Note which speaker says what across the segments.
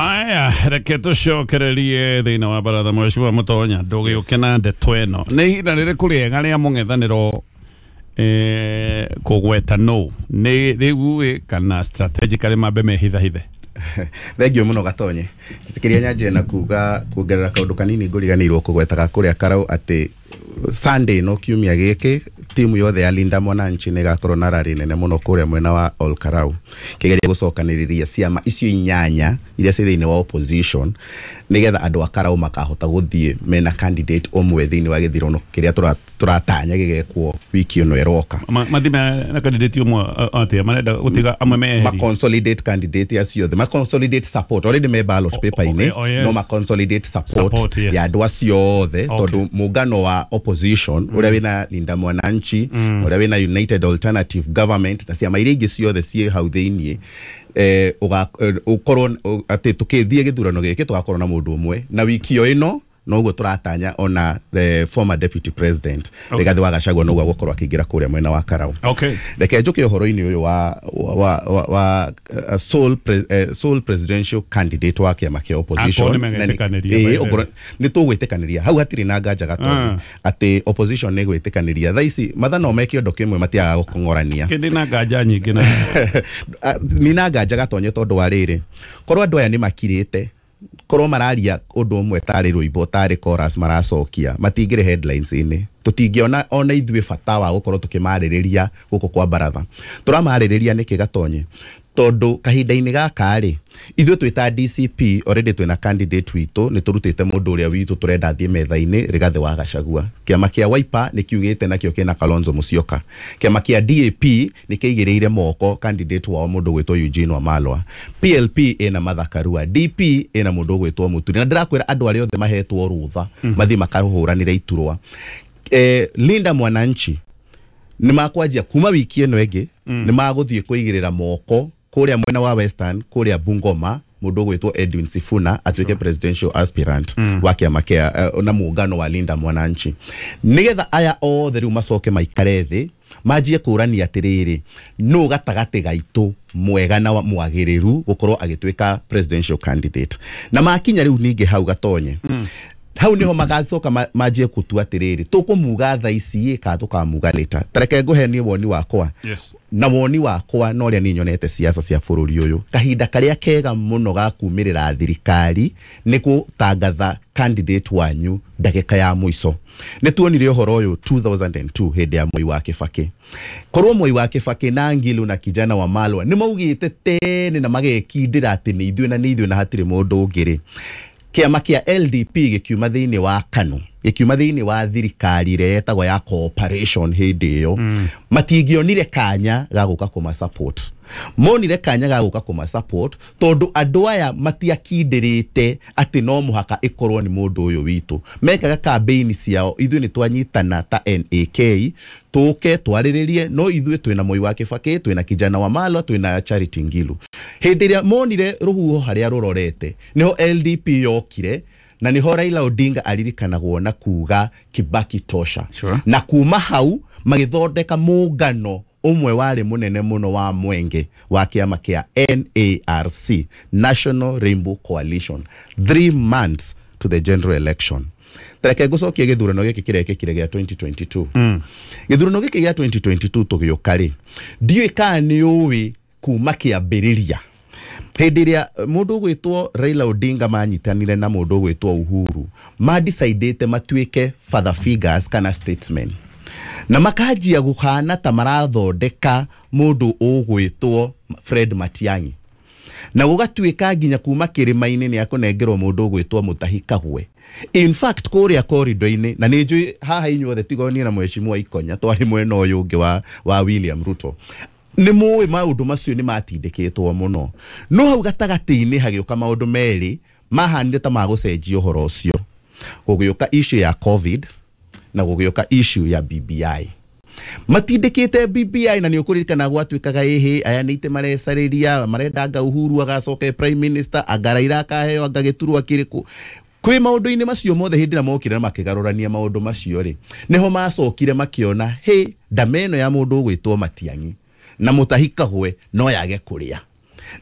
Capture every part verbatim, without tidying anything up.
Speaker 1: Aya, reke tũcokererie thĩinĩ wa baratha. Mheshimiwa Mũtonya, ndũgĩũke na ndeto ĩno. Nĩ ihinda rĩrĩkũ rĩega rĩa mũng'ethanĩro eh, kũgweta no nĩ rĩu ĩ kana strategically mambe mehithahithe?
Speaker 2: Thengio mũno, Gatonye. Njĩtĩkĩria nyanjie na kuga kuongerera kaũndũ kanini ngũriganĩirwo kũgwetaga kũrĩa Karau, atĩ Sunday no kiumia gĩkĩ timu yothe ya Linda Mwananchi nĩ ĩgakorwo na rally nene mũno kũrĩa mwena wa Ol Karau, kĩgeria gũcokanĩrĩria ciama icio inyanya iria ciĩ thĩinĩ wa opposition, nĩgetha andũ a Karau makahota gũthiĩ mena candidate ũmwe thĩinĩ wa gĩthurano kĩrĩa tũra- tũratanya gĩgekwo wiki ĩno ĩroka.
Speaker 1: Ma- mathime na candidate ũmwe atĩa? Marenda gũtiga amwe meherie?
Speaker 2: Ma consolidate candidate acio othe, ma consolidate support. Already me ballot paper-inĩ.
Speaker 1: oh, oh, yes.
Speaker 2: No ma consolidate support,
Speaker 1: Support, yes.
Speaker 2: ya andũ acio othe,
Speaker 1: Okay.
Speaker 2: tondũ mũngano wa opposition ũrĩa wĩna Linda Mwananchi, ũrĩa wĩna United Alternative Government na ciama iria ingĩ ciothe ciĩ hau thĩiniĩ, eh, ũga- eh, ũkorwo ũ- atĩ tũkĩthiĩ gĩthurano gĩkĩ tũgakorwo na mũndũ ũmwe. Na wiki o ĩno noguo tũratanya ona the former deputy president,
Speaker 1: Okay.
Speaker 2: Rigathĩ wa Gachagua, noguo agũkorwo akĩingĩra kũrĩa mwena wa Karau.
Speaker 1: Okay
Speaker 2: Reke njũke ũhoro-inĩ ũyũ wa, wa, wa, wa uh, sole, pre, uh, sole presidential candidate wa kĩama kĩa opposition.
Speaker 1: Akorwo nĩ
Speaker 2: Na nĩ-
Speaker 1: megetĩkanĩria,
Speaker 2: ĩĩ,
Speaker 1: by the way.
Speaker 2: okorwo- nĩ tũgwĩtĩkanĩria hau, hatirĩ na nganja, Gatonyi, atĩ opposition nĩ gwĩtĩkanĩria. Thaa ici matha no meke ũndũ kĩmwe, matiagaga gũkong'orania.
Speaker 1: Kĩndĩ na nganja nyingĩ na
Speaker 2: Nina nganja, Gatonye, tondũ wa rĩrĩ, korwo andũ aya nĩ makirĩte, korwo mararia ũndũ ũmwe tarĩ rwĩmbo, tarĩ chorus maracokia, matingĩrĩ headlines-inĩ, tũtingĩona ona ithuĩ bata wa gũkorwo tũkĩmarĩrĩria gũkũ kwa baratha. Tũramarĩrĩria nĩkĩ, Gatonye? Tondũ kahinda-inĩ gaka rĩ, ithuĩ twĩ ta D C P already twĩna candidate witũ, nĩ tũrutĩte mũndũ ũrĩa witũ tũrenda athiĩ metha-inĩ, Rigathĩ wa Gachagua. Kĩama kĩa Wiper nĩ kiugĩte nakĩo kĩna Kalonzo Musyoka. Kĩama kĩa D A P nĩ kĩigĩrĩire moko candidate wao, mũndũ ũgwĩtwo Eugene Wamalwa. P L P ĩna Martha Karua, D P ĩna mũndũ ũgwĩtwo Muturi. Na ndĩrakwĩra andũ arĩa othe mahetwo rũtha mathiĩ makahũranĩre iturwa, eh, Linda Mwananchi nĩ makwanjia kuma wiki ĩno ĩngĩ, nĩ magũthiĩ kũigĩrĩra moko kũrĩa mwena wa Western, kũrĩa Bungoma, mũndũ ũgwĩtwo Edwin Sifuna atuĩke presidential aspirant wa kĩama kĩa uh, na muungano wa Linda Mwananchi, nĩgetha aya othe rĩu macoke maikare thĩ manjie kũrania atĩrĩrĩ, nũ gatagatĩ gaitũ mwega na wa- mwagĩrĩru gũkorwo agĩtuĩka presidential candidate. Na makinya rĩu ningĩ hau, Gatonye, hau niho magacoka ma- manjie gũtua atĩrĩrĩ, tũkũmuga tha ici ĩ kana tũkamuga later. Tareke ngũhe niĩ woni wakwa.
Speaker 1: Yes.
Speaker 2: Na woni wakwa na ũrĩa niĩ nyonete siasa cia bũrũri ũyũ, kahinda karĩa kega mũno ga kumĩrĩra thirikari nĩ gũtangatha candidate wanyu ndagĩka ya mũico. Nĩ tuonire ũhoro ũyũ two thousand and two hĩndĩ ya Moi wa Kĩbakĩ. Korwo Moi wa Kĩbakĩ na Ngilu na Kijana wa Malwa nĩ maugĩte tene na magekindĩra atĩ nĩ ithuĩ na nĩ ithuĩ na hatirĩ mũndũ ũngĩ rĩ, kĩama kĩa L D P gĩkiuma thĩinĩ wa KANU, gĩkiuma thĩinĩ wa thirikari ĩrĩa yetagwo ya cooperation hĩndĩ ĩyo, mm. matingĩonire kanya ga gũka kũma support. Monire kanya ga gũka kũma support tondũ andũ aya matiakindĩrĩte atĩ no mũhaka ĩkorwo nĩ mũndũ ũyũ witũ. Mekaga campaign ciao, ithuĩ nĩ twanyitana ta N A K tũke twarĩrĩrie, no ithuĩ twĩna Moi wa Kĩbakĩ, twĩna Kijana wa Malwa, twĩna Charity Ngilu. Hĩndĩ ĩrĩa monire rũhuho harĩa rũrorete, nĩho L D P yokire na nĩho Raila Odinga aririkanagwo na kuga "Kibaki tosha".
Speaker 1: Sure.
Speaker 2: Na kuma hau magĩthondeka mũngano ũmwe warĩ mũnene mũno wa mwenge wa kĩama kĩa N A R C, National Rainbow Coalition, three months to the general election. Tareke ngũcokie gĩthurano gĩkĩ kĩrekĩkire gĩa twenty twenty-two. mm. Gĩthurano gĩkĩ gĩa twenty twenty-two tũgĩũka rĩ, ndiũĩ kana nĩ ũĩ kuma kĩambĩrĩria hĩndĩ ĩrĩa mũndũ ũgwĩtwo Raila Odinga manyitanire na mũndũ ũgwĩtwo Uhuru, mandecidĩte matuĩke father figures kana statesmen, na makanjia gũhana ta marathondeka mũndũ ũgwĩtwo Fred Matiang'i, na gũgatuĩka nginya kuma kĩrĩma-inĩ nĩ akũnengerwo mũndũ ũgwĩtwo Mutahi Kagwe. In fact, kũrĩa korido-inĩ, na nĩ njũĩ haha inyuothe tiga niĩ na mheshimiwa Ikonya twarĩ mwena ũyũ ũngĩ wa, wa William Ruto, nĩ mũĩ maũndũ macio nĩ matindĩkĩtwo mũno. No hau gatagatĩ-inĩ hagĩũka maũndũ merĩ mahanire ta magũcenjia ũhoro ũcio: gũgĩũka issue ya COVID na gũgĩũka issue ya B B I. Matindĩkĩte B B I, na nĩ ũkũririkana gwatuĩkaga ĩhĩ aya nĩ itĩ marecarĩria, marenda anga Uhuru agacoke prime minister, anga Raila akaheo anga gĩturwa kĩrĩkũ. Kwĩ maũndũ-inĩ macio mothe, hĩndĩ ĩrĩa mokire na makĩgarũrania maũndũ macio rĩ, nĩho macokire makĩona hĩ ndama ĩno ya mũndũ ũgwĩtwo Matiang'i na Mutahi Kagwe no yage kũrĩa.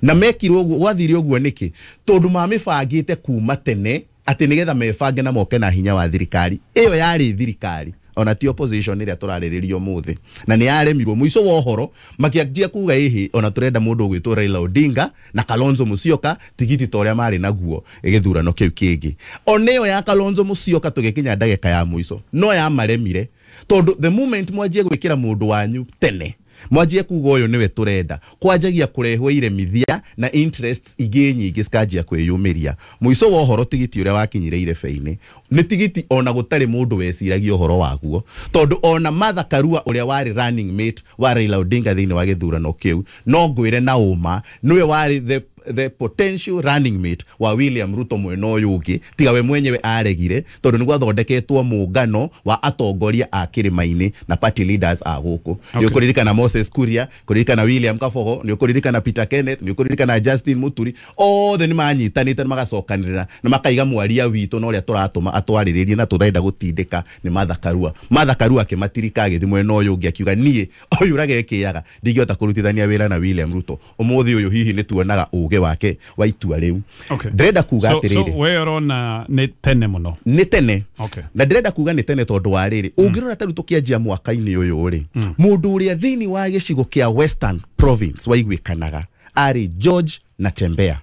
Speaker 2: Na mekirwo ũguo, gwathire ũguo nĩkĩ? Tondũ mamĩbangĩte kuma tene atĩ nĩgetha mebange na moke na hinya wa thirikari. Ĩyo yarĩ thirikari, ona ti opposition ĩrĩa tũrarĩrĩria ũmũthĩ, na nĩ yaremirwo. Mũico wa ũhoro makĩanjia kuga ĩhĩ, ona tũrenda mũndũ ũgwĩtwo Raila Odinga na Kalonzo Musyoka, tigiti ta ũrĩa marĩ naguo gĩthurano kĩu kĩngĩ. Ona ĩyo ya Kalonzo Musyoka tũgĩkinya ndagĩka ya mũico no yamaremire, tondũ the moment mwanjie gwĩkĩra mũndũ wanyu tene, mwanjie kuga ũyũ nĩwe tũrenda, kwanjagia kũrehwo iremithia na interests ingĩ nyingĩ cikanjia kwĩyumĩria. Mũico wa ũhoro tigiti ũrĩa wakinyire irebe-inĩ nĩ tigiti ona gũtarĩ mũndũ weciragia ũhoro waguo, tondũ ona Martha Karua ũrĩa warĩ running mate wa Raila Odinga thĩinĩ wa gĩthurano kĩu, no ngwĩre na ũma nĩwe warĩ the the potential running mate wa William Ruto mwena ũyũ ũngĩ, tiga we mwenyewe aregire, tondũ nĩ gwathondeketwo mũngano wa atongoria a kĩrĩma-inĩ na party leaders a gũkũ. Nĩ ũkũririkana Moses Kuria, kũririkana William Kabogo, nĩ ũkũririkana Peter Kenneth, nĩ ũkũririkana Justin Muturi, othe nĩ manyitanĩte na magacokanĩrĩra na makaiga mwaria witũ na ũrĩa tũratũma atwarĩrĩrie na tũrenda gũtindĩka nĩ Martha Karua. Martha Karua akĩmatirika agĩthiĩ mwena ũyũ ũngĩ akiuga niĩ ũyũ ũragekĩaga ndingĩhota kũrutithania wĩra na William Ruto. Ũmũthĩ ũyũ hihi nĩ tuonaga ũgĩ wake wa itua rĩu.
Speaker 1: Okay.
Speaker 2: Ndĩrenda kuga
Speaker 1: So, so
Speaker 2: atĩrĩrĩ,
Speaker 1: we ũrona nĩ tene mũno?
Speaker 2: Nĩ tene.
Speaker 1: Okay.
Speaker 2: Na ndĩrenda kuga nĩ tene tondũ wa rĩrĩ, ũngĩrora ta rĩu tũkĩanjia mwaka-inĩ ũyũ rĩ, mũndũ ũrĩa thĩinĩ wa gĩcigo kĩa Western Province waiguĩkanaga arĩ George Natembeya.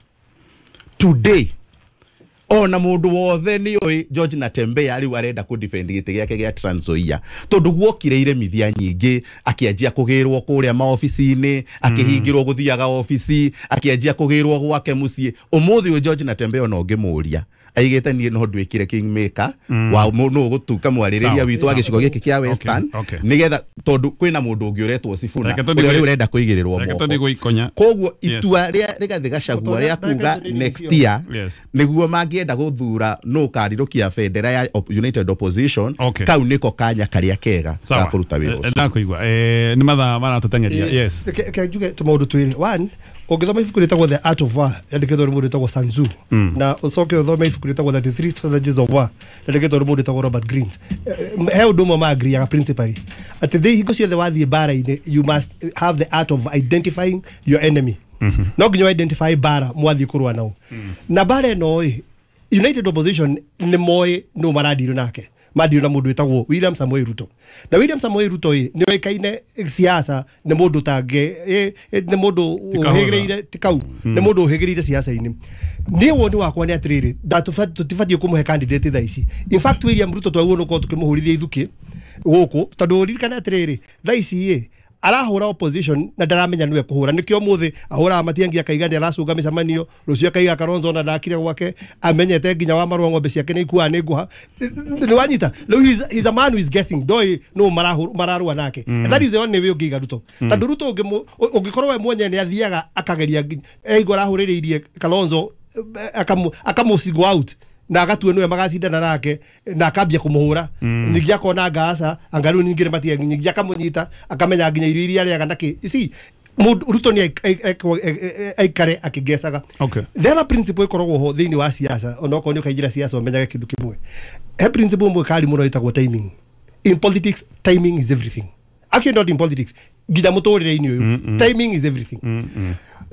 Speaker 2: Today ona mũndũ wothe nĩ oĩ George Natembeya rĩu arenda kũ defend gĩtĩ gĩake gĩa Trans Nzoia, tondũ guokire iremithia nyingĩ, akĩanjia kũgĩrwo kũrĩa maobici-inĩ, akĩhingĩrwo gũthiaga obici, akĩanjia kũgĩrwo gwake mũciĩ. Ũmũthĩ ũyũ George Natembeya ona ũngĩmũria aigĩte niĩ no nduĩkire kingmaker wa nũ ũgũtuĩka mwarĩrĩria
Speaker 1: Sawa,
Speaker 2: witũ wa
Speaker 1: sawa.
Speaker 2: gĩcigo gĩkĩ kĩa Western,
Speaker 1: okay.
Speaker 2: nĩgetha tondũ kwĩna mũndũ ũngĩ ũretwo Sifuna
Speaker 1: Reke tũthiĩ
Speaker 2: ũrĩa
Speaker 1: gwĩ-
Speaker 2: rĩu ũrenda kũigĩrĩrwo
Speaker 1: Reke
Speaker 2: moko.
Speaker 1: tũthiĩ gwĩkonya.
Speaker 2: Koguo
Speaker 1: Yes.
Speaker 2: itua rĩa Rigathĩ Gachagua rĩa kuga next year
Speaker 1: Yes.
Speaker 2: nĩguo mangĩenda gũthura nũ ũkarirũkia bendera ya op- United Opposition,
Speaker 1: Okay.
Speaker 2: kau nĩko kanya karĩa kega ga
Speaker 1: Sawa.
Speaker 2: kũruta wĩra
Speaker 1: Eh,
Speaker 2: ũcio.
Speaker 1: Ndakũigua. Eh, nĩ mathaa maratũteng'eria. Yes.
Speaker 3: Reke reke njuge tũmaũndũ twĩrĩ. One, ũngĩthoma ibuku rĩtagwo The Art of War rĩandĩkĩtwo nĩ mũndũ wĩtagwo Sun Tzu, na ũcoke ũthome ibuku rĩtagwo thirty-three Strategies of War rĩandĩkĩtwo nĩ mũndũ wĩtagwo Robert Greene, Eh, he ũndũ ũmwe maagriaga principally, atĩ thĩ hingo ciothe wathiĩ mbara-inĩ, you must have the art of identifying your enemy. No nginya identify mbara mwathiĩ kũrũa nao. Na mbara ĩno ĩ United Opposition nĩ moĩ nũ marandirwo nake. Mandirwo na mũndũ wĩtagwo William Samoei Ruto. Na William Samoei Ruto ĩ nĩ oĩkaine siasa, nĩ mũndũ tangĩ ĩ- ĩ- nĩ mũndũ
Speaker 1: Ti kahũtha.
Speaker 3: ũhĩgĩrĩire, ti kau, nĩ mũndũ ũhĩgĩrĩire siasa-inĩ. Niĩ woni wakwa nĩ atĩrĩrĩ, ndatũba- tũtibatiĩ kũmũhe candidate thaa ici. In fact, William Ruto twagĩrĩirwo nĩ gũkorwo tũkĩmũhũrithia ithukĩ gũkũ, tondũ ririkana atĩrĩrĩ, thaa ici ĩ arahũra opposition na ndaramenya nĩwe kũhũra. Nĩkĩo ũmũthĩ ahũraga Matiang'i akaiga nĩ aracũnga mĩcemanio, rũciũ akaiga Kalonzo ona ndakire gwake, amenyete nginya wa marũa ng'ombe ciake nĩ ikuaga nĩ ngũha. Nĩ wanyita rĩu, he's, he's a man who is guessing, ndoĩ nũ marahũ- mararũa nake. And that is the only way ũngĩiga Ruto, tondũ Ruto ũngĩmũ- ũngĩkorwo we mwenyewe nĩ athiaga akageria nginya eigua arahũrĩrĩirie Kalonzo, eh, akamu akamu single out na agatua niwe magacindana nake na akambia kumuhura. Ningĩ akona ngaca anga rĩu ningĩ nĩ Matiang'i, ningĩ akamũnyita, akamenya nginya irio iria arĩaga na kĩ. You see, mũndũ Ruto nĩ aikare akĩngecaga.
Speaker 1: Okay.
Speaker 3: The other principle ĩkoragwo ho thĩinĩ wa siasa, onokorwo nĩ ũkaingĩra siasa ũmenyage kĩndũ kĩmwe, he principle ĩmwe kari mũno ĩtagwo timing. In politics, timing is everything. Actually, not in politics, nginya mũtũrĩre-inĩ ũyũ, timing is everything.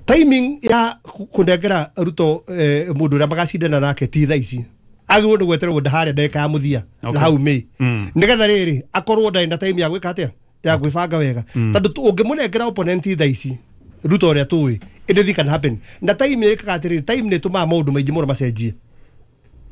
Speaker 3: Timing ya ku- kũnengera Ruto eh, mũndũ ũrĩa magacindana nake ti thaa ici. Agĩrĩirwo nĩ gweterwo harĩa ndagĩka ya mũthia na
Speaker 1: Okay.
Speaker 3: hau May, nĩgetha rĩrĩ akorwo ndarĩ na time ya gwĩka atĩa, ya gwĩbanga wega, tondũ tu- ũngĩmũnengera opponent thaa ici, Ruto ũrĩa tũĩ, anything can happen. Na time nĩ ĩkaga atĩrĩrĩ, time nĩ ĩtũmaga maũndũ maingĩ mũno macenjie.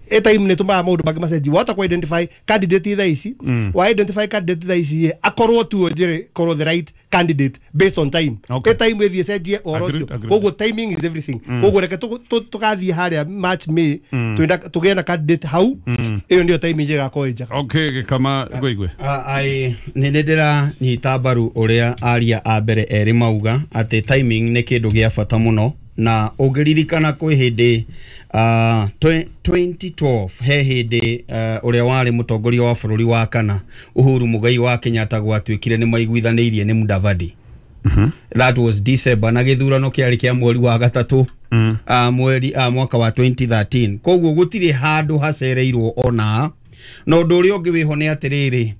Speaker 3: E time nĩ ĩtũmaga maũndũ mangĩ macenjie. Wahota kũ identify candidate thaa ici, wa identify candidate thaa ici, akorwo tu njĩrĩ korwo the right candidate based on time.
Speaker 1: Okay.
Speaker 3: E time ĩthiĩ ĩcenjie ũhoro
Speaker 1: Agreed,
Speaker 3: ũcio.
Speaker 1: Agreed.
Speaker 3: Koguo timing is everything. Koguo reke tũ- tũ- tũgathiĩ harĩa March, May, twĩna tũgĩe na candidate hau. Ĩyo nĩyo time njega ĩgakorwo ĩ njega.
Speaker 1: Okay, gĩkama ngũigue.
Speaker 4: Ai nĩ nĩ ndĩranyita mbaru ũrĩa aria a mbere erĩ mauga atĩ timing nĩ kĩndũ gĩa bata mũno. Na ũngĩririkana kwĩ hĩndĩ uh, twenty twelve he hĩndĩ uh, ũrĩa warĩ mũtongoria wa bũrũri wa kana Uhuru Muigai wa Kenyatta gwatuĩkire nĩ maiguithanĩirie nĩ Mudavadi. That was December, na gĩthurano kĩarĩ kĩa mweri wa gatatũ, mm. uh, mweri uh, mwaka wa twenty thirteen. Koguo gũtirĩ handũ hacereirwo ona. Na ũndũ ũrĩa ũngĩ wĩho nĩ atĩrĩrĩ,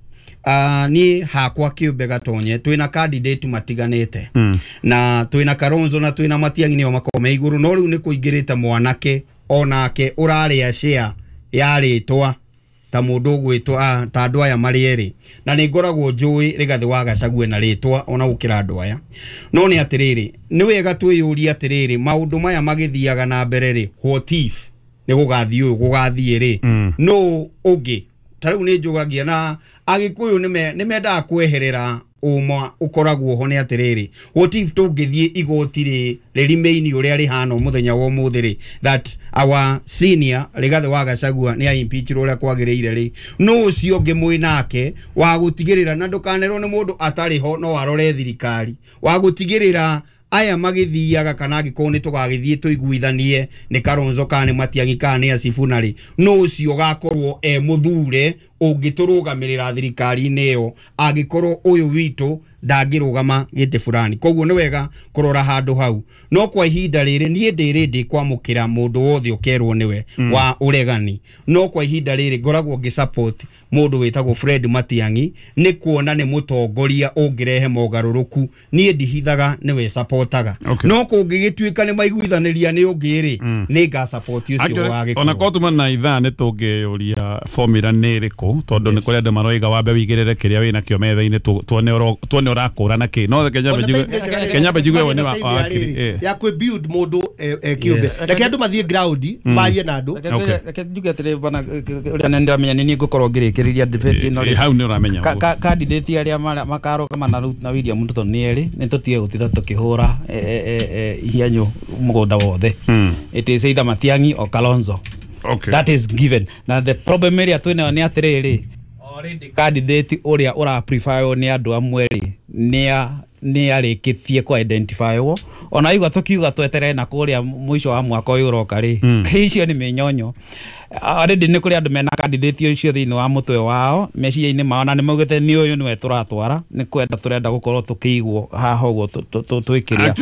Speaker 4: Uh, niĩ hakwa kĩũmbe Gatonye twĩna candidate matiganĩte mm. na twĩna Kalonzo na twĩna Matiang'i nĩo makoragwo me igũrũ, no rĩu nĩ kũingĩrĩte mwanake onake ũrarĩa share ya rĩtwa ta mũndũ ũgwĩtwo ta andũ aya marĩ erĩ, na nĩ ngoragwo njũĩ Rigathĩ wa Gachagua na rĩtwa ona gũkĩra andũ aya. No nĩ atĩrĩrĩ, nĩ wega twĩyũrie atĩrĩrĩ, maũndũ maya magĩthiaga na mbere rĩ, what if nĩ gũgathiĩ ũyũ gũgathiĩ rĩ, no ũngĩ ta rĩu nĩ njũgagia na Agĩkũyũ nĩ mendaga kweherera ũma ũkoragwo ho nĩ atĩrĩrĩ, what if tũngĩthiĩ igoti rĩ rĩrĩmĩini ũrĩa rĩhana mũthenya wa ũmũthĩ rĩ, that our senior Rigathĩ wa Gachagua nĩ aimpeachirwo ũrĩa kwagĩrĩire rĩ, no ũcio ũngĩ mwĩ nake wa gũtigĩrĩra, na ndũkanerwo nĩ mũndũ atarĩ ho no arore thirikari, wa gũtigĩrĩra aya magĩthiaga kana angĩkorwo nĩ tũgagĩthiĩ tũiguithanie nĩ Kalonzo kana nĩ Matiang'i kana nĩ Sifuna rĩ, no ũcio ũgakorwo e mũthure ũngĩtũrũgamĩrĩra thirikari-inĩ ĩyo angĩkorwo ũyũ witũ ndangĩrũgama gĩtĩ fulani. Koguo nĩ wega kũrora handũ hau. No kwa ihinda rĩrĩ niĩ ndĩrĩ ndĩ kwamũkĩra mũndũ wothe ũkerwo nĩwe mm. wa ũregani, no kwa ihinda rĩrĩ ngoragwo ngĩ support mũndũ wĩtagwo Fred Matiang'i nĩ kuona nĩ mũtongoria ũngĩrehe mogarũrũku. Niĩ ndihithaga nĩwe supportaga.
Speaker 1: Okay.
Speaker 4: No kũngĩgĩtuĩka nĩ maiguithanĩria nĩ ũngĩ rĩ, mm. nĩ nga support ũcio wa Gĩkũyũ.
Speaker 1: Ona korwo tuma na ithaa nĩ tũngĩyũria formula nĩ ĩrĩkũ, tondũ nĩ kũrĩ andũ maroiga wambe wĩigĩrĩre kĩrĩa wĩnakĩo metha-inĩ tuone tuone ũrakũra na kĩ. No Kenya mbe njigue wone wa wakiri
Speaker 3: ya kwĩ build mũndũ kĩũmbe, reke andũ mathiĩ ground marie na andũ.
Speaker 5: Reke njuge atĩrĩ bana, ũrĩa nĩ ndĩramenya nĩ niĩ ngũkorwo ngĩrĩkĩrĩria debate ĩno rĩ,
Speaker 1: hau nĩ ũramenya
Speaker 5: candidate arĩa makarũgama na William Ruto nĩ erĩ, nĩ tũtige gũtinda tũkĩhũra ihianyũ mũgũnda wothe. It is either Matiang'i or Kalonzo.
Speaker 1: Okay.
Speaker 5: That is given. Na the problem ĩrĩa twĩnayo nĩ atĩrĩrĩ, already candidate ũrĩa ũra prefer nĩ andũ amwe rĩ, nĩ nĩ arĩkĩtie ku identify wo, ona igua tukiuga tweterere na kũrĩa mũico wa mwaka ũyũ ũroka rĩ, icio nĩ mĩnyonyo. Already nĩ kũrĩ andũ mena candidate ũcio thĩinĩ wa mũtwe wao meciria-inĩ mao, na nĩ maugĩte nĩ ũyũ nĩwe tũratwara, nĩ kwenda tũrenda gũkorwo tũkĩigwo haha ũguo twĩkĩrĩa.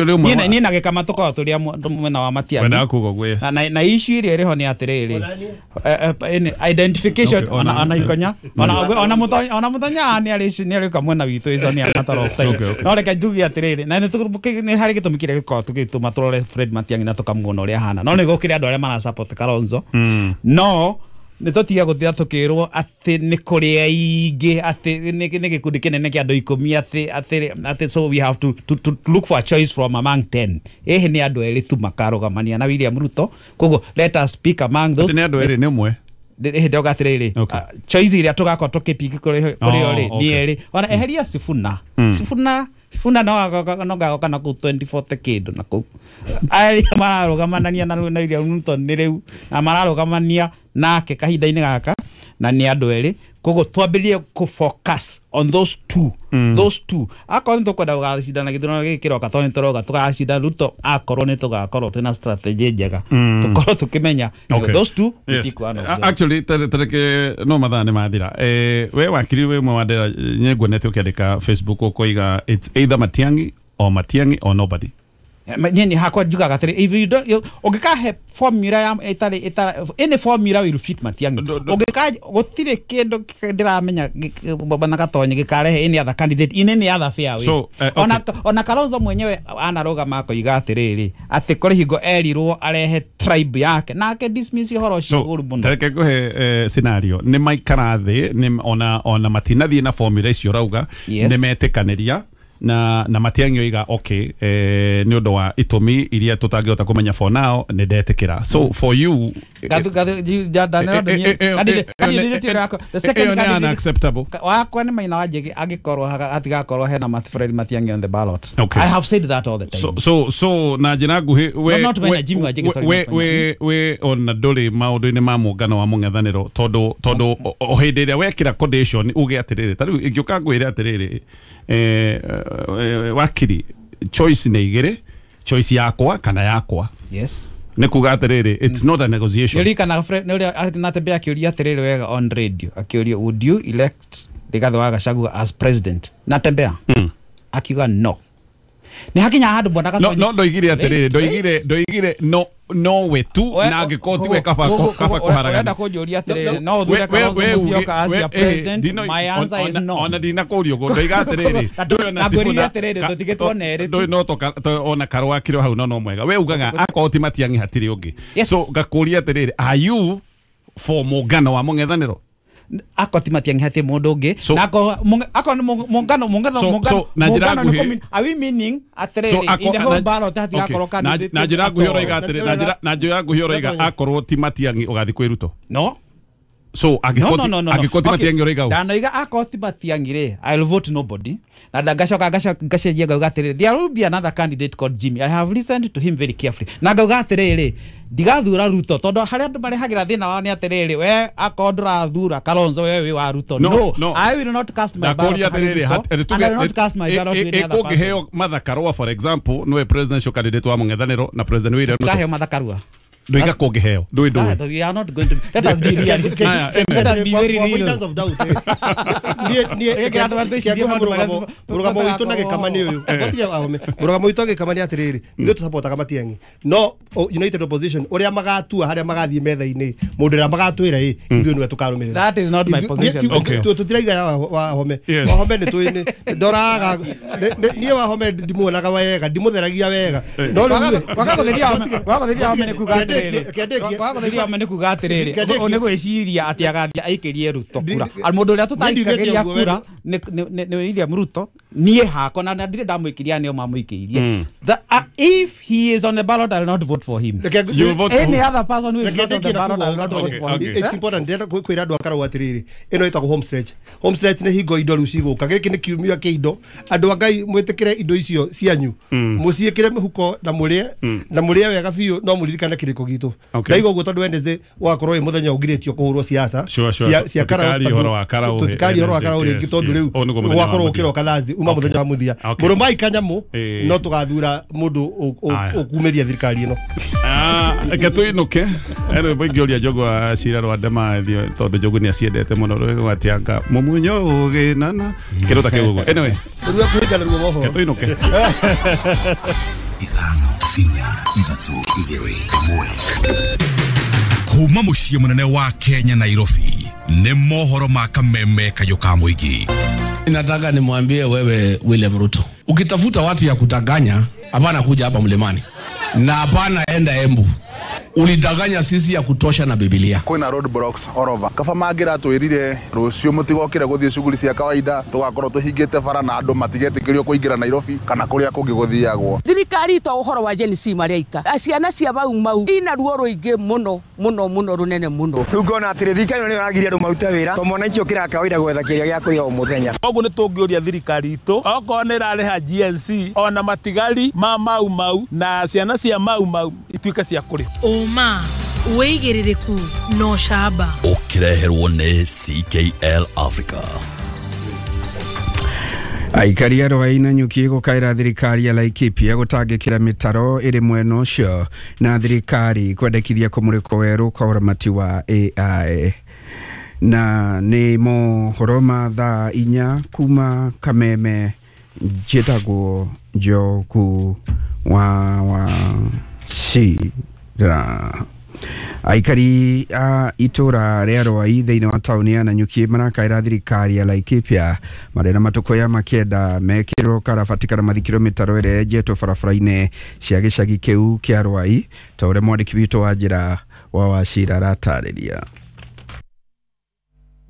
Speaker 5: Niĩ na gĩkama tũkoragwo tũrĩ mwena wa Matiang'i, na na issue ĩrĩa ĩrĩ ho nĩ atĩrĩrĩ, identification ona ikonya ona ona mũtonya ona mũtonya nĩ arĩ nĩ arĩũka mwena witũ, icio nĩ a matter of time. No reke njuge atĩrĩrĩ, na nĩ harĩ gĩtũmi kĩrĩa gĩkoragwo tũgĩtũma tũrore Fred Matiang'i na tũkamuona ũrĩa ahana, no nĩ gũkĩrĩ andũ arĩa mara support Kalonzo. No nĩ tũtige gũtira tũkĩrwo atĩ nĩ kũrĩ aingĩ, atĩ nĩ gĩkundi kĩnene kĩa andũ ikũmi, atĩ atĩ atĩ so we have to, to, to look for a choice from among ten. Ĩhĩ nĩ andũ erĩ tu makarũgamania na William Ruto, koguo let us pick among those.
Speaker 1: Atĩ nĩ andũ erĩ nĩ ũmwe
Speaker 5: hĩndĩ ĩyo atĩrĩrĩ, choice iria tũgakorwo tũkĩpiki kũrĩ o rĩ nĩ erĩ. Ona eheria Sifuna, Sifuna Sifuna no no gagoka na kũu twenty forty kĩndũ na kũu arĩa mararũgamanania na William Ruto nĩ rĩu na mararũgamania nake kahinda-inĩ gaka na nĩ andũ erĩ, koguo twambĩrĩrie kũ focus on those two. Mm. Those two akorwo nĩ tũkwenda gũgacindana gĩthurano gĩkĩ kĩroka, tondũ nĩ tũroga tũgacinda Ruto, akorwo nĩ tũgakorwo twĩna strategy njega, tũkorwo tũkĩmenya those two.
Speaker 1: Yes. Actually tareke no mathaa nĩ mathira. Eh, we wakiri we mwe wandera nyenguonete ũkĩandĩka Facebook ũkoiga it's either Matiang'i or Matiang'i or nobody.
Speaker 5: Niĩ hakwa njugaga atĩrĩ, if you don't, ũngĩkahe formula ya ĩtarĩ ĩtarĩ any formula will fit Matiang'i, ũngĩka gũtirĩ kĩndũ ndĩramenya bana Gatonye gĩkarehe any other candidate in any other fair way.
Speaker 1: So, uh, okay.
Speaker 5: Ona ona Kalonzo mwenyewe anarũgama akoiga atĩrĩrĩ, atĩ kũrĩ hingo erirwo arehe tribe yake nake dismiss ũhoro ũcio ũru mũno.
Speaker 1: Tareke ngũhe scenario, nĩ maikara thĩ ona ona matinathiĩ na formula icio ũrauga, nĩ metĩkanĩria na na Matiang'i oiga okay, eh, nĩ ũndũ wa itũmi iria tũtangĩhota kũmenya for now nĩ ndetĩkĩra. So for you
Speaker 5: gathu gathu the second candidate
Speaker 1: unacceptable
Speaker 5: wakwa nĩ Maina wa Njĩgĩ angĩkorwo hatigakorwo hena Fred Matiang'i on the ballot.
Speaker 1: Okay.
Speaker 5: I have said that all the time.
Speaker 1: So so so na njĩra nguhĩ we
Speaker 5: no, not Maina Jimmy wa Njĩgĩ, sorry,
Speaker 1: we we we ona ndũrĩ maũndũ-inĩ ma mũngano wa mũng'ethanĩro, tondũ tondũ o hĩndĩ ĩrĩa wekĩra condition uge atĩrĩrĩ, ta rĩu ingĩũka ngwĩre atĩrĩrĩ, eh, wakiri choice nĩ igĩrĩ, choice yakwa kana yakwa.
Speaker 5: Yes.
Speaker 1: Nĩ kuga atĩrĩrĩ, it's not a negotiation.
Speaker 5: Nĩũririkanaga nĩ ũrĩa Natembeya akĩũria atĩrĩrĩ wega on radio, akĩũria would you elect Rigathĩ wa Gachagua as president? Natembeya
Speaker 1: mm.
Speaker 5: akiuga no. Nĩ hakinya handũ mbona
Speaker 1: Gatonye no no ndoigire atĩrĩrĩ, ndoigire ndoigire no no we tu na angĩkorwo tiwe kaba kaba kũharagana.
Speaker 5: Ũrenda kũnjũria atĩrĩrĩ, no ũthure Kalonzo Musyoka as your president? My answer is no.
Speaker 1: Ona ndinakũria ũguo, ndoiga atĩrĩrĩ, ndũĩ ona
Speaker 5: Sifuna atĩrĩrĩ, tũtigĩtwo nerĩ
Speaker 1: ndũĩ no toka ona Karũa akĩrĩ hau no no mwega. We ugaga akorwo ti Matiang'i hatirĩ ũngĩ. So ngakũria atĩrĩrĩ, are you for mũngano wa mũng'ethanĩro?
Speaker 5: Akorwo ti Matiang'i hatirĩ mũndũ ũngĩ, na akorwo akorwo mũngano mũngano mũngano mũngano, are we meaning atĩrĩrĩ in the whole ballot hatigakorwo candidate?
Speaker 1: Na njĩra nguhĩ ũroiga atĩrĩrĩ, na njĩra na njĩra nguhĩ ũroiga akorwo ti Matiang'i ũgathiĩ kwĩ Ruto?
Speaker 5: No.
Speaker 1: So angĩkorwo angĩkorwo ti Matiang'i ũroiga ũũ?
Speaker 5: Ndanoiga akorwo ti Matiang'i rĩ, I'll vote nobody. Na ngacoka ngacoka ngacenjia ngauga atĩrĩrĩ, there will be another candidate called Jimmy. I have listened to him very carefully. Na ngauga atĩrĩrĩ, ndigathura Ruto tondũ harĩa andũ marehagĩra thĩna wao nĩ atĩrĩrĩ, we akorwo ndũrathura Kalonzo we wĩ wa Ruto. No, no, I will not cast my ballot. And I will not cast my ballot to any other person.
Speaker 1: Ĩkũngĩheo Martha Karua for example, nĩwe presidential candidate wa mũng'ethanĩro na President William Ruto.
Speaker 5: Ndũkaheo Martha Karua.
Speaker 1: Ndoiga kũngĩheo ndũĩ ndũĩ.
Speaker 5: We are not going to, let us be real. Let us be very real.
Speaker 3: Avoidance of doubt. Niĩ niĩ mũrũgamo witũ na Gĩkama nĩ ũyũ. Mũrũgamo witũ Gĩkama nĩ atĩrĩrĩ, ithuĩ tũsupportaga Matiang'i. No United Opposition ũrĩa magatua harĩa magathiĩ metha-inĩ, mũndũ ũrĩa magatwĩra ĩ, ithuĩ nĩwe tũkarũmĩrĩra.
Speaker 5: That is not my position.
Speaker 3: Tũtiraiga Wahome. Wahome nĩ tũĩ ndoraga niĩ Wahome ndimuonaga wega, ndimũtheragia wega. No rĩu
Speaker 5: wagagũtheria wagagũtheria Wahome nĩ kuga atĩrĩrĩ, wagagũtheria Wahome nĩ kuga atĩrĩrĩ, nĩ gwĩciria atĩ agathiĩ aikĩrie Ruto kura. Mũndũ ũrĩa tũtaikagĩria kura nĩ William Ruto, niĩ hakwa na ndirĩ ndamũikĩria nĩo mamũikĩirie. If he is on the ballot, I will not vote for him.
Speaker 1: You vote for
Speaker 5: any other person who is not on the ballot, I will not vote for him.
Speaker 3: It's important ndĩrenda kwĩra andũ a Karau atĩrĩrĩ, ĩno ĩtagwo home stretch. Home stretch nĩ hingo indo rĩu cigũka. Gĩkĩ nĩ kiumia kĩa indo. Andũ a Ngai mwĩtĩkĩre indo icio cianyu, mũciĩkĩre mĩhuko na mũrĩe na mũrĩe wega biũ, no mũririkane kĩrĩko gitũ. Ndaiga ũguo tondũ Wednesday ũgakorwo wĩ mũthenya ũngirĩtio kũhũrwo siasa cia Karau, tũtikaria ũhoro wa Karau rĩngĩ tondũ rĩu ũgakorwo ũkĩroka Thursday, uma mũthenya wa mũthia. Mũrũmai kanyamũ, no tũgathura mũndũ ũkumĩria thirikari ĩno.
Speaker 1: Reke tũinũke. Rwĩmbo ingĩũria Njogu wa Cira rwa Ndemathio tondũ Njogu nĩ aciendete mũno rwĩmbo atianga mũmunyo ũgĩnana kĩndũ ta kĩu ũguo. Anyway,
Speaker 3: rũrĩa kũhingana ruo mohoro.
Speaker 1: Reke tũinũke.
Speaker 6: Ithano inya ithatũ igĩrĩ ĩmwe. Kuma mũciĩ mũnene wa Kenya Nairobi nĩ mohoro ma kameme kayũ ka mũingĩ.
Speaker 7: Nataka nimwambie wewe William Ruto, ukitafuta watu ya kudanganya, hapana kuja hapa Mlimani na hapana enda Embu. Ulidanganya sisi ya kutosha na Biblia.
Speaker 8: Kwina road blocks all over. Kaba mangira twirire rucio mutigokire guthie shughuli cia kawaida tugakorwo tuhingite bara na andu matigetikirio kuingira Nairobi kana kuria kungi guthiagwo.
Speaker 9: Thirikari to uhoro wa Gen Z maria ika. Ciana cia Mau Mau ina ruo ruingi muno muno muno runene muno.
Speaker 10: Riu ngona atiri thirikari ni ragiria andu marute wira to mwananchi ukira kawaida gwetha kiria gia kuria o muthenya.
Speaker 11: Koguo ni tungiuria thirikari itu okorwo ni irariha G N C ona matigari ma Mau Mau na ciana cia Mau Mau ituike cia kuri.
Speaker 12: Ũma wĩigĩrĩrĩku no camba
Speaker 6: ũkĩreherwo nĩ C K L Africa.
Speaker 4: Aikari a Rwai na Nyuki gũkaĩra thirikari ya Laikipia gũtangĩkĩra mĩtaro ĩrĩ mwena ũcio na thirikari kwendekithia kũmũrĩkwo werũ kwa ũramati wa A I. Na nĩ mohoro ma thaa inya kuma Kameme, njĩtagwo Njogu wa wa Cira. Aikari a itũra rĩa Rwai thĩinĩ wa taũni ya Nanyuki marakaĩra thirikari ya Laikipia marĩ na matukũ ya makenda mekĩrwo karabati kana mathikĩrwo mĩtaro ĩrĩa yenjetwo barabara-inĩ cia gĩcagi kĩu kĩa Rwai ta ũrĩa mwandĩki witũ wa njĩra wa Wachira aratarĩria.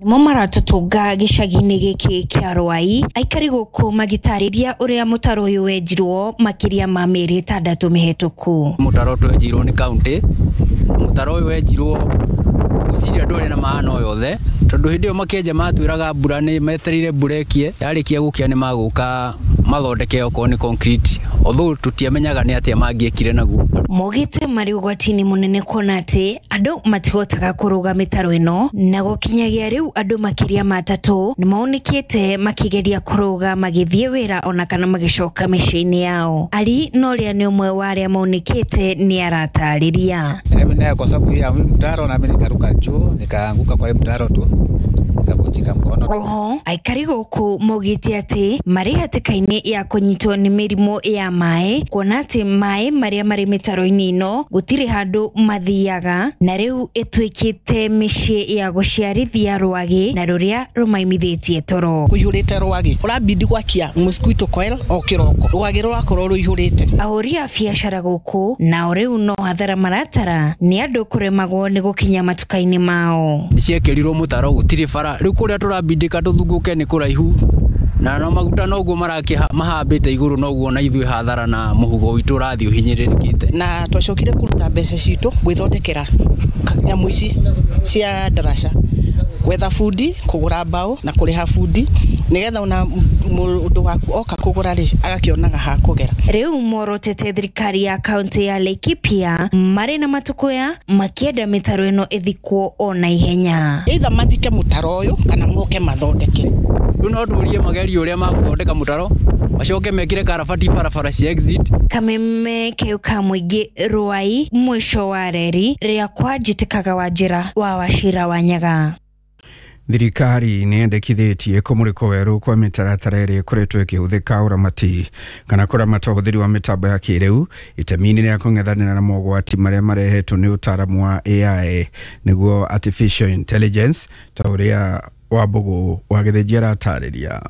Speaker 13: Nĩmo maratũtũnga gĩcagi-inĩ gĩkĩ kĩa Rwai aikari gũkũ magĩtarĩria ũrĩa mũtaro ũyũ wenjirwo makĩria ma mĩeri ĩtandatũ mĩhetũku.
Speaker 14: Mũtaro twenjirwo nĩ kaunti, mũtaro ũyũ wenjirwo gwĩciria ndũrĩ na maana o yothe tondũ hĩndĩ ĩyo makĩenja matwĩraga mbura nĩ metereire mbura ĩkie, yarĩkia gũkia nĩ magũka mathondeke okorwo nĩ concrete, although tũtiamenyaga nĩ atĩa mangĩekire naguo.
Speaker 13: Mogĩte marĩ ũgwati-inĩ mũnene kuona atĩ andũ matihotaga kũrũga mĩtaro ĩno na gũkinyagia rĩu andũ makĩria ma atatũ nĩ maunĩkĩte makĩgeria kũrũga magĩthiĩ wĩra ona kana magĩcoka mĩciĩ-inĩ yao. Ali Noria nĩ ũmwe wa arĩa maunĩkĩte nĩ aratarĩria.
Speaker 15: Mimi naye kwa sababu ya mtaro na mimi nikaruka juu nikaanguka kwa mtaro tu nikavunjika mkono.
Speaker 13: Oho, aikari gũkũ maugĩte atĩ marĩ hatĩka-inĩ ya kũnyitwo nĩ mĩrimũ ya maĩ kuona atĩ maĩ marĩa marĩ mĩtaro-inĩ ĩno gũtirĩ handũ mathiaga na rĩu ĩtuĩkĩte mĩciĩ ya gũciarithia rwagĩ na rũrĩa rũmaimithĩtie toro.
Speaker 16: Kũihũrĩte rwagĩ ũrabidi gwakia mosquito coil o kĩroko rwagĩ rũrakorwo rũihũrĩte.
Speaker 13: Ahũri a biacara gũkũ nao rĩu no hathara maratara nĩ andũ kũremagwo nĩ gũkinya matuka-inĩ mao.
Speaker 14: Nĩciekĩrirwo mũtaro gũtirĩ bara rĩu kũrĩa tũrabindĩka tũthungũke nĩ kũraihu na no maguta noguo marakĩ mahambĩte igũrũ noguo na ithuĩ hathara na mũhuko witũ ũrathiĩ ũhinyĩrĩrĩkĩte.
Speaker 16: Na twacokire kũruta mbeca citũ gwĩthondekera nyamũ ici cia ndaraca, gwetha bundi, kũgũra mbaũ na kũrĩha bundi nĩgetha ona mũndũ waku oka kũgũra rĩ agakĩonaga ha kũgera.
Speaker 13: Rĩu morotete thirikari ya kaunti ya Laikipia marĩ na matukuya makĩenda mĩtaro ĩno ĩthikwo o na ihenya.
Speaker 16: Either mathike mũtaro ũyũ kana moke mathondeke.
Speaker 14: Rĩu no tũrie magerio ũrĩa magũthondeka mũtaro macoke mekĩre karabati barabara cia exit.
Speaker 13: Kameme keu ka mũingĩ Ruai mwisho wa reri rĩakwa njĩtĩkaga wa njĩra wa Wachira wa Nyaga.
Speaker 17: Thirikari nĩ yendekithĩtie kũmũrĩkwo werũ kwa mĩtaratara ĩrĩa ĩkoretwo ĩkĩhũthĩka ũramati kana kũramata ũhũthĩri wa mĩtambo ya kĩrĩu itemi-inĩ rĩa kũng'ethanĩra na mogwati marĩa marehetwo nĩ ũtaaramu wa A I nĩguo artificial intelligence ta ũrĩa Wambũgũ wa Gĩthĩnji aratarĩria.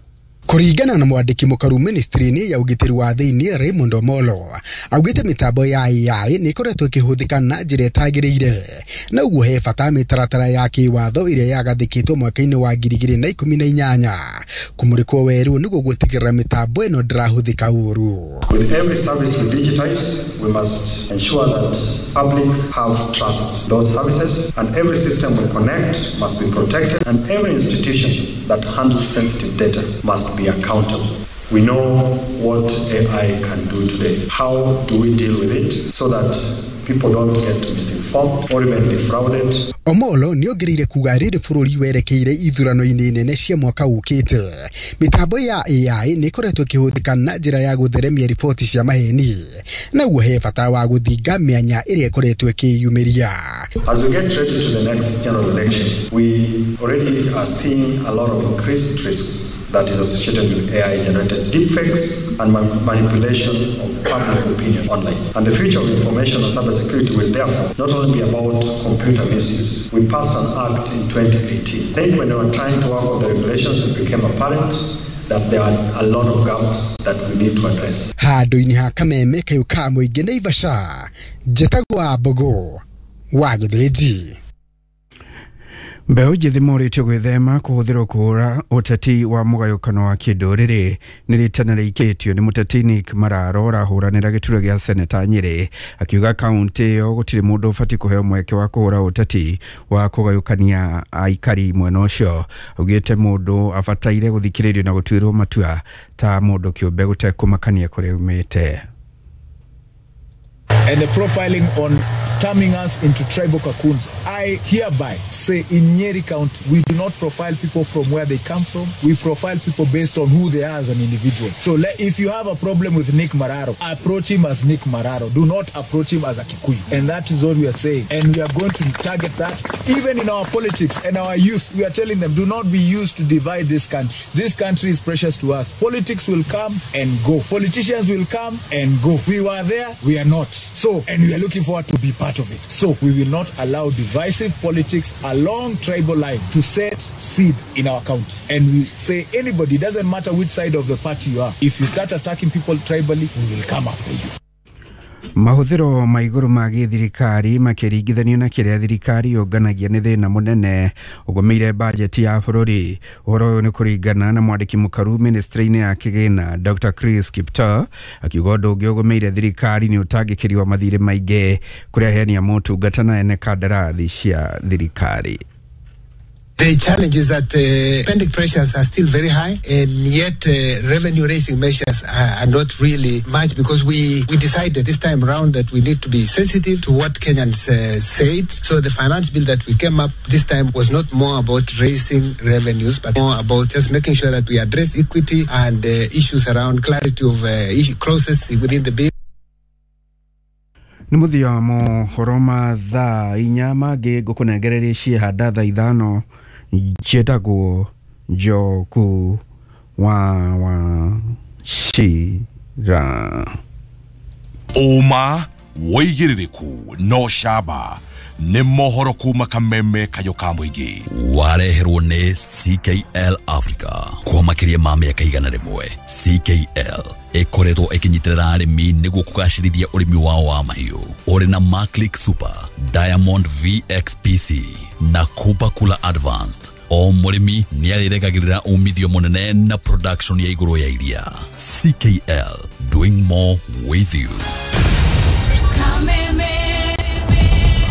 Speaker 18: Kuringana na mwandiki mukaru ministry-inĩ ya ũgitĩri wa thĩinĩ Raymond Omolo augĩte mĩtambo ya A I nĩ ĩkoretwo ĩkĩhũthĩka na njĩra ĩtagĩrĩire na ũguo he bata mĩtaratara ya kĩwatho ĩrĩa yagathĩkĩtwo mwaka-inĩ wa ngiri igĩrĩ na ikũmi na inyanya kũmũrĩkwo werũ nĩguo gũtigĩrĩra mĩtambo ĩno ndĩrahũthĩka ũru.
Speaker 19: With every service we digitize, we must ensure that public have trust those services, and every system we connect must be protected, and every institution that handles sensitive data must be accountable. We know what A I can do today. How do we deal with it so that people don't get misinformed or even defrauded?
Speaker 18: Omolo nĩongereire kuga rĩrĩ bũrũri werekeire ithurano-inĩ nene cia mwaka ũkĩte mĩtambo ya A I nĩ ĩkoretwo ĩkĩhũthĩka na njĩra ya gũtheremia riboti cia maheni na ũguo he bata wa gũthinga mĩanya ĩrĩa ĩkoretwo ĩkĩyumĩria.
Speaker 19: As we get ready to the next general elections, we already are seeing a lot of increased risks that is associated with A I-generated deepfakes and ma manipulation of public opinion online. And the future of information and cybersecurity will therefore not only be about computer misuse. We passed an act in twenty eighteen. I think when we were trying to work on the regulations, it became apparent that there are a lot of gaps that we need to address.
Speaker 18: Handũ-inĩ ha kameme kayũ ka mũingĩ Naivasha, njĩtagwo Wambũgũ wa Gĩthĩnji.
Speaker 17: Mbeũ njĩthĩ morĩtio gwĩthema kũhũthĩrwo kũhũra ũteti wa mũgayũkano wa kĩndũrĩrĩ nĩ rĩtana rĩikĩtio nĩ mũteti Nick Mararo ũrahũranĩra gĩturwa gĩa seneta Nyĩrĩ akiuga kaũntĩ ĩyo gũtirĩ mũndũ ũbatiĩ kũheo mweke wa kũhũra ũteti wa kũgayũkania aikari mwena ũcio. Augĩte mũndũ abataire gũthikĩrĩrio na gũtuĩrwo matua ta mũndũ kĩũmbe gũtekũmakania kũrĩa aumĩte.
Speaker 20: And the profiling on turning us into tribal cocoons. I hereby say in Nyeri County, we do not profile people from where they come from. We profile people based on who they are as an individual. So let, if you have a problem with Nick Mararo, approach him as Nick Mararo. Do not approach him as a Kikuyu. And that is what we are saying. And we are going to target that. Even in our politics and our youth, we are telling them, do not be used to divide this country. This country is precious to us. Politics will come and go. Politicians will come and go. We were there, we are not. So, and we are looking forward to be part of it. So we will not allow divisive politics along tribal lines to set seed in our county. And we say anybody, doesn't matter which side of the party you are, if you start attacking people tribally, we will come after you.
Speaker 17: Mahũthĩro ma igũrũ ma gĩthirikari makĩringithanio na kĩrĩa thirikari yũnganagia nĩ thĩna mũnene ũgũmĩire bajeti ya bũrũri. Ũhoro ũyũ nĩ kũringana na mwandĩki mũkaru ministry-inĩ ya kĩgĩna Doctor Chris Kiptoo akiuga ũndũ ũngĩ ũgũmĩire thirikari nĩ ũtangĩkĩri wa mathirĩ maingĩ kũrĩa aheani a motungata na ene kandarathi cia thirikari.
Speaker 21: The challenge is that uh, spending pressures are still very high, and yet uh, revenue raising measures are, are not really much, because we, we decided this time round that we need to be sensitive to what Kenyans uh, said. So the finance bill that we came up this time was not more about raising revenues, but more about just making sure that we address equity and uh, issues around clarity of uh, issue, clauses within the bill.
Speaker 17: Nĩ mũthia wa mohoro ma thaa inya mangĩ ngũkũnengereria ciehanda thaa ithano njĩtagwo Njoku wa Wachira.
Speaker 6: Ũma wĩigĩrĩrĩku no camba nĩ mohoro kuma kameme kayũ ka mũingĩ.
Speaker 2: Wareherwo nĩ C K L Africa kwa makĩria ma mĩaka igana rĩmwe. C K L ĩkoretwo ĩkĩnyitĩrĩra arĩmi nĩguo kũgacĩrithia ũrĩmi wao wa mahiũ. Ũrĩ na Maclick Super, Diamond V X P C na Kuba Kula Advanced. O mũrĩmi nĩ arĩregagĩrĩra umithio mũnene na production ya igũrũ ya iria. C K L, doing more with you.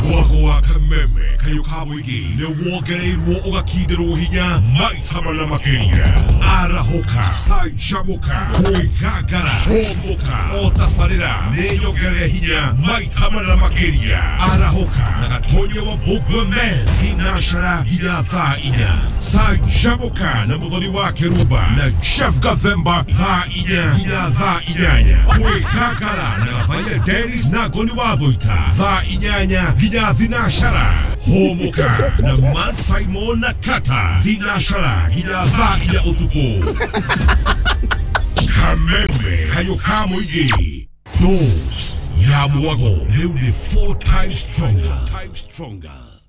Speaker 6: Mwago wa kameme kayo ka mũingĩ nĩ wongereirwo ũgakindĩrwo hinya maita mana makĩria. Arahũka, canjamũka, kwĩgangara, hũmũka, o tabarĩra nĩ nyongerere hinya maita mana makĩria. Arahũka na Gatonya wa Mbũmbwe Men thinacara nginya thaa inya. Canjamũka na Mũthoni wa Kĩrumba na Jeff Gathemba thaa inya nginya thaa inyanya. Kwĩgangara na Gathaiya Dennis na Ngoni wa Thũita thaa inyanya nginya thinashara. Hũmũka na Man Simon na Kata thinashara nginya thaa inya ũtukũ. Kameme kayo ka mũingĩ. Dose ya mwago rĩu nĩ four times stronger.